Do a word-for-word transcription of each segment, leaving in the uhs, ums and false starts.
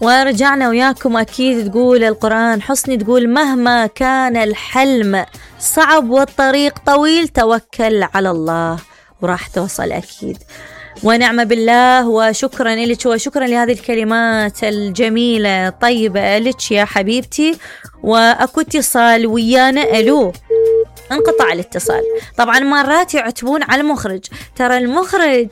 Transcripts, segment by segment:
ورجعنا وياكم أكيد. تقول القرآن حصني، تقول مهما كان الحلم صعب والطريق طويل توكل على الله وراح توصل أكيد. ونعم بالله. وشكرا لك وشكرا لهذه الكلمات الجميلة طيبة لك يا حبيبتي. وأكو اتصال ويانا. ألو، انقطع الاتصال. طبعا مرات يعتبون على المخرج، ترى المخرج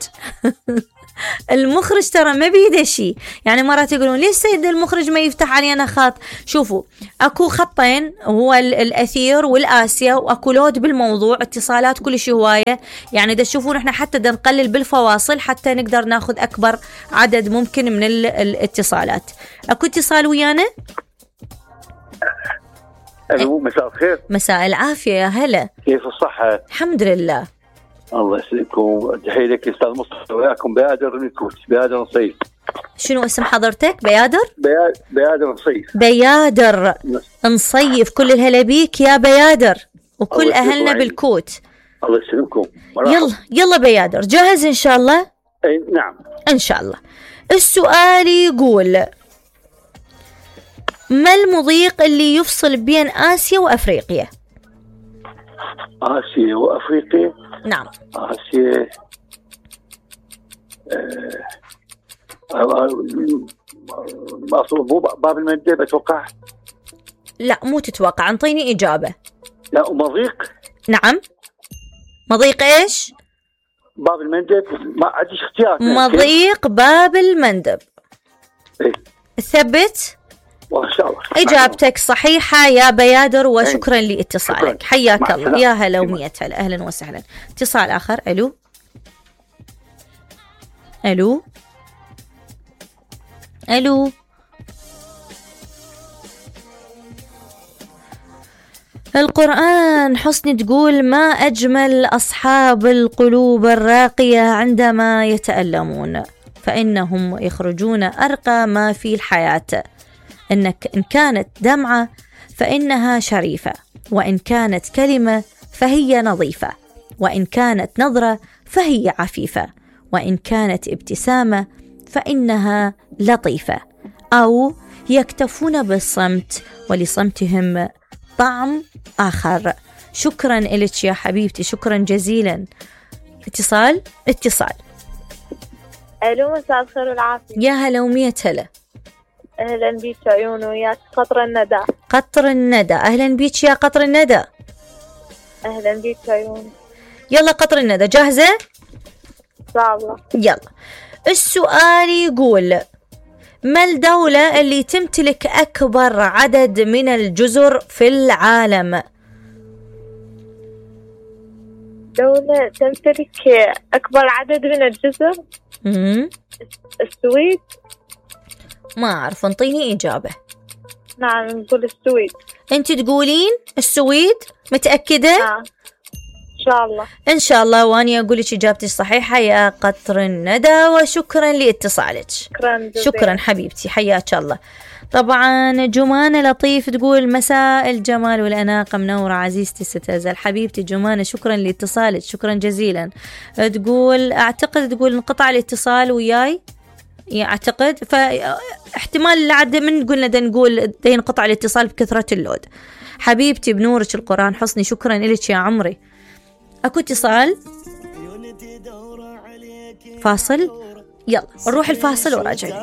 المخرج ترى ما بيده شيء، يعني مرات يقولون ليش سيد المخرج ما يفتح علينا خط. شوفوا اكو خطين، هو الاثير والآسيا، واكو لود بالموضوع، اتصالات كل شيء هوايه، يعني دا تشوفون احنا حتى دا نقلل بالفواصل حتى نقدر ناخذ اكبر عدد ممكن من الاتصالات. اكو اتصال ويانا. الو، مساء الخير. مساء العافيه، يا هلا. كيف الصحه؟ الحمد لله. الله يسلمكم. تحيه لك استاذ مصطفى، وياكم بيادر من الكويت. بيادر نصيف. شنو اسم حضرتك؟ بيادر؟ بيا... بيادر نصيف. بيادر نصيف. كل الهلا بيك يا بيادر وكل اهلنا بالكوت. الله يسلمكم. يلا يلا بيادر، جاهز ان شاء الله؟ اي نعم ان شاء الله. السؤال يقول ما المضيق اللي يفصل بين آسيا وأفريقيا؟ آسيا وأفريقيا. نعم. آسيا مو باب المندب أتوقع. لا مو تتوقع، انطيني إجابة. لا مضيق. نعم مضيق إيش؟ باب المندب. ما عنديش اختيار. مضيق باب المندب. إيه؟ ثبت. وإن شاء الله إجابتك صحيحة يا بيادر، وشكرا لاتصالك. حياك الله. يا هلا ومية هلا. أهلا وسهلا. اتصال آخر. ألو ألو ألو. القرآن حسني تقول ما أجمل أصحاب القلوب الراقية عندما يتألمون فإنهم يخرجون أرقى ما في الحياة. إنك إن كانت دمعة فإنها شريفة، وإن كانت كلمة فهي نظيفة، وإن كانت نظرة فهي عفيفة، وإن كانت ابتسامة فإنها لطيفة. أو يكتفون بالصمت ولصمتهم طعم آخر. شكرا إلك يا حبيبتي، شكرا جزيلا. اتصال اتصال. ألو، مساء الخير والعافية. يا هلا ومية هلا. أهلا بيك عيون وياك قطر الندى. قطر الندى. أهلا بيك يا قطر الندى. أهلا بيك عيون. يلا قطر الندى، جاهزة؟ إن شاء الله. يلا. السؤال يقول ما الدولة اللي تمتلك أكبر عدد من الجزر في العالم؟ دولة تمتلك أكبر عدد من الجزر؟ مم. السويد. ما أعرف، انطيني إجابة. نعم نقول السويد. أنت تقولين السويد؟ متأكدة؟ نعم إن شاء الله. إن شاء الله، وأني أقول لك إجابتي صحيحة يا قطر الندى، وشكرا لاتصالك. شكرا جزيلا. شكرا حبيبتي، حياك الله. طبعا جمانة لطيف تقول مساء الجمال والأناقة منورة عزيزتي ستزل. حبيبتي جمانة شكرا لاتصالك، شكرا جزيلا. تقول أعتقد تقول انقطع الاتصال وياي، أعتقد فاحتمال لعد من قلنا دا نقول دا ينقطع الاتصال بكثرة اللود. حبيبتي بنورك القرآن حصني، شكرا لك يا عمري. أكو اتصال. فاصل. يلا نروح الفاصل وراجعين.